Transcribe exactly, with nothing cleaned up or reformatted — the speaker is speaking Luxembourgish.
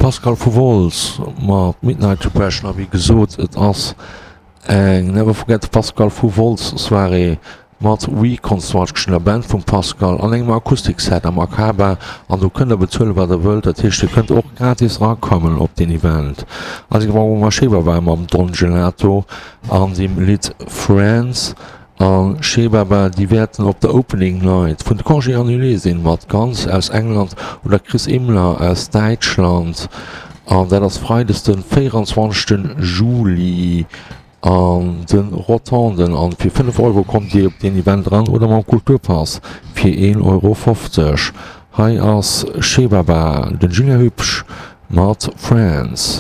Pascal vu Wolz mat Midnight Depression a wéi gesot et ass eng Never Forget Pascal vu Wolz Soirée mat Reconstruction, der Band vum Pascal an engem Akustikset am Akaba an do kënnt der bezuelen wat der wëllt, dat heescht dir kënnt och gratis erakommen op deen Event. Also Mama Shebaba mam Don Gelato an dem Lidd Friends. A Shebaba, déi wäerten op der Opening Night vun de Congés Annulés sinn, mat Guns aus England oder Chris Imler aus Däitschland. An dat ass freides de véieranzwanzegste Juli an de Rotonden. An fir fënnef Euro kommt Dir op deen Event eran oder mam Kulturpass fir een Euro fofzeg. Hei ass Shebaba, den Julien Hübsch mat Friends.